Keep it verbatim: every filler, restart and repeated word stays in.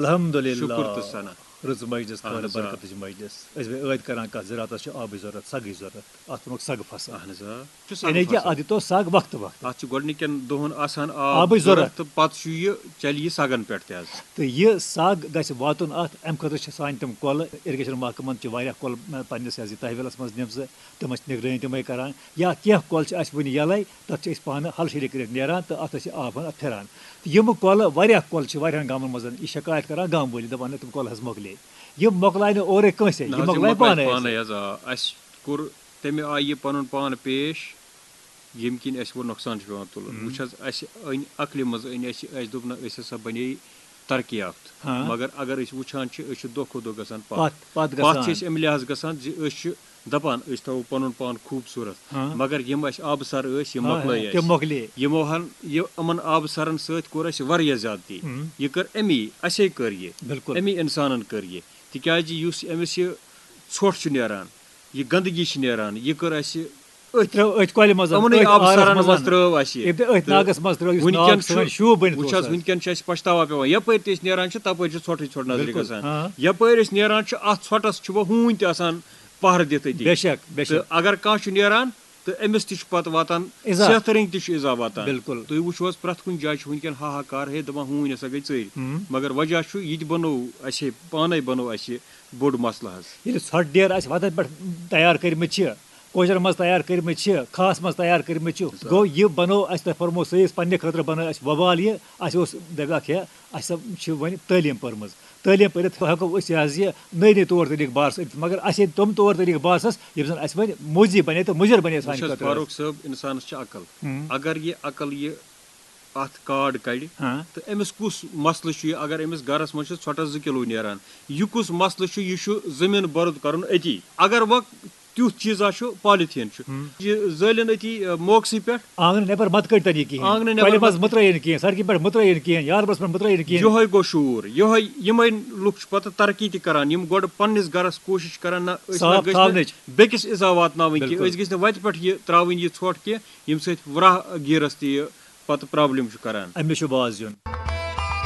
الحمدللہ۔ شُکُر تہٕ ثنا۔ رٕژ مجلس، اہن خٲر حظ، آ۔ برکتٕچ مجلس۔ أسۍ بیٚیہِ عٲدۍ کران کتھ، زِراعتس چھِ آبٕچ ضروٗرت، سگٕچ ضروٗرت، اتھ ووٚنُکھ سگ فصل۔ اہن حظ، آ۔ چھُ سگ یعنی کہِ فصل۔ اتھ دِتو سگ وقتہٕ وقتہٕ۔ اتھ چھُ گۄڈٕنِکٮ۪ن دۄہن آسان آب آبٕچ ضروٗرت۔ تہٕ پتہٕ چھُ یہِ، چلہِ یہِ سگن پٮ۪ٹھ تہِ حظ۔ تہٕ یہِ سگ گژھِ واتُن اتھ، امہِ خٲطرٕ چھِ سانہِ تِم کۄلہٕ، irrigation محکمن چھِ واریاہ کۄلہٕ، مہ، پننِس یہِ حظ یہِ تحویلس منٛز نِمژٕ، تِم ٲسۍ نگرٲنی تِمے کران۔ یا کینٛہہ کۄلہٕ چھِ اسہِ وُنہِ یلے، تتھ چھِ أسۍ پانہٕ ہل شیٖرِتھ کٔرِتھ نیران تہٕ اتھ ٲسۍ یہِ آب ہن اتھ پھران۔ تہٕ یِم کۄلہٕ واریاہ کۄلہٕ چھِ واریاہن گامن منٛز یہِ شکایت کران گامہٕ وٲلۍ، دپان، "نہ، تِم کۄلہٕ حظ مۄکلے۔" یِم مۄکلاے نہٕ اورے کٲنٛسے، نہ یِم حظ، یِم مۄکلاے مۄکلاے پانے۔ پانے حظ، آ۔ اسہِ کوٚر تمہِ آیہِ یہِ پنُن پان پیش، ییٚمہِ کِنۍ اسہِ وۄنۍ نۄقصان چھُ پٮ۪وان تُلُن۔ وٕچھ حظ، اسہِ أنۍ عقلہِ منٛز أنۍ اسہِ، اسہِ دوٚپ، نہ، أسۍ ہسا بنے ترقی یافتہٕ۔ ہاں۔ مگر اگر أسۍ وٕچھان چھِ، أسۍ چھِ دۄہ کھۄتہٕ دۄہ گژھان پتھ۔ پتھ، پتھ پتھ چھِ گژھان۔ أسۍ امہِ لحاظ گژھان زِ أسۍ چھِ دپان أسۍ تھاوو پنُن پان خوٗبصوٗرت، ہاں۔ مگر یِم اسہِ آبہٕ سر ٲسۍ، یِم ہاں، مۄکلٲے ہاں، اسہِ۔ تِم مۄکلے۔ یِمو ہن، یہِ، یِمن آبہٕ سرن سۭتۍ کوٚر اسہِ واریاہ زیادتی۔ ہم۔ یہِ کٔر امی، اسے کٔر یہِ۔ بِلکُل۔ امی انسانن کٔر یہِ۔ تِکیازِ یُس أمِس یہِ ژھۄٹھ چھُ نیران، یہِ گندگی چھِ نیران، یہِ کٔر اسہِ أتھۍ ترٛٲو أتھۍ کۄلہِ منٛز، یِمنٕے أتھۍ آبہٕ آرس سرن منٛز۔ منٛز ترٲو اسہِ۔ ییٚمہِ تہِ أتھۍ تہٕ ناگس منٛز ترٲو، یُس ناگ وٕنکٮ۪ن سٲنۍ چھُ، شوٗب بٔنِتھ وٕچھ اوس حظ، حظ۔ وٕنکٮ۪ن چھُ اسہِ پچھتاوا پٮ۪وان، یپٲرۍ تہِ أسۍ نیران چھِ، تپٲرۍ چھِ ژھۄٹھٕے ژھۄٹھ نظرِ بِلکُل، گژھان۔ ہاں۔ یپٲرۍ أسۍ نیران چھِ، اتھ ژھۄٹھس چھُ وۄنۍ ہوٗنۍ تہِ آسان پہرٕ دِتھ أتی۔ بے شک، بے شک۔ تہٕ اگر کانٛہہ چھُ نیران، تہٕ أمِس تہِ چھُ پتہٕ واتان، اِزا۔ صحتہٕ رٔنٛگۍ تہِ چھُ اِزا واتان۔ بِلکُل۔ تُہۍ وٕچھِو حظ، پرٛٮ۪تھ کُنہِ جایہِ چھُ وٕنکٮ۪ن ہاہاکار، ہے، دَپان، ہوٗنۍ ہسا گٔے ژٔرۍ۔ ہم۔ مگر وجہ چھُ، یہِ تہِ بنوو اَسہِ، پانے بنوو اَسہِ یہِ بوٚڑ مسلہٕ حظ۔ ییٚلہِ ژھۄٹھ ڈیر اَسہِ وَتَن پٮ۪ٹھ تیار کٔرمٕتۍ چھِ، کوچرَن منٛز تیار کٔرمٕتۍ چھِ، کھاہَس منٛز تیار کٔرمٕتۍ چھِ، بِلکُل۔ گوٚو یہِ بنوو اَسہِ، تۄہہِ فرموو صحیح، پننہِ خٲطرٕ بنٲو اَسہِ وبال یہِ، اَسہِ اوس دَپیٛاکھ ہے، اَسہِ چھِ وۄنۍ تعلیٖم پٔرمٕژ، تعلیٖم پٔرِتھ ہٮ۪کو أسۍ یہِ حظ یہِ نٔے نٔے طور طریٖقہٕ بارس أنِتھ، مگر اَسہِ ییٚلہِ تِم طور طریٖقہٕ باسَس، یِم زَن اَسہِ وۄنۍ موزی بنے تہٕ مُضِر بنے سانہِ وٕچھ حظ، خٲطرٕ۔ فاروق صٲب، اِنسانَس چھِ عقل۔ ہم۔ اگر یہِ عقل یہِ اَتھ کاڈ کَڑِ، ہاں۔ تہٕ أمِس کُس مسلہٕ چھُ یہِ؟ اگر أمِس گَرَس منٛز چھِ ژھۄٹَس زٕ کِلوٗ نیران، یہِ کُس مسلہٕ چھُ؟ یہِ چھُ زٔمیٖن بوٚرُد کَرُن أتی۔ اگر وۄنۍ تیُتھ چیٖزا چھُ، پالیٖتھیٖن چھُ، ہم۔ یہِ زٲلِن أتی، آ، موقسٕے پٮ۪ٹھ۔ آنٛگنہٕ نٮ۪بر مت کٔڑۍ تَن یہِ کِہیٖنۍ۔ آنٛگنہٕ نٮ۪بر کۄلہِ منٛز مت- مٔترٲیِن کِہیٖنۍ، سڑکہِ پٮ۪ٹھ مٔترٲیِن کِہیٖنۍ، یاربَس منٛز مٔترٲیِن کِہیٖنۍ۔ یِہوٚے گوٚو شعوٗر، یِہوٚے، یِمَے لُکھ چھِ پَتہٕ ترقی تہِ کَران، یِم گۄڈٕ پنٛنِس گَرَس کوٗشِش کَران، نہ، أسۍ نہ صاف گٔژھۍ تھاونٕچ۔ نہٕ بیٚکِس اِزا واتناوٕنۍ کینٛہہ، بِلکُل۔ أسۍ گٔژھۍ نہٕ وَتہِ پٮ۪ٹھ یہِ ترٛاوٕنۍ یہِ ژھۄٹھ کینٛہہ، ییٚمہِ سۭتۍ وراہ گیٖرَس تہِ یہِ پَتہٕ پرٛابلِم چھُ کَران۔ أمِس چھُ باز یُن۔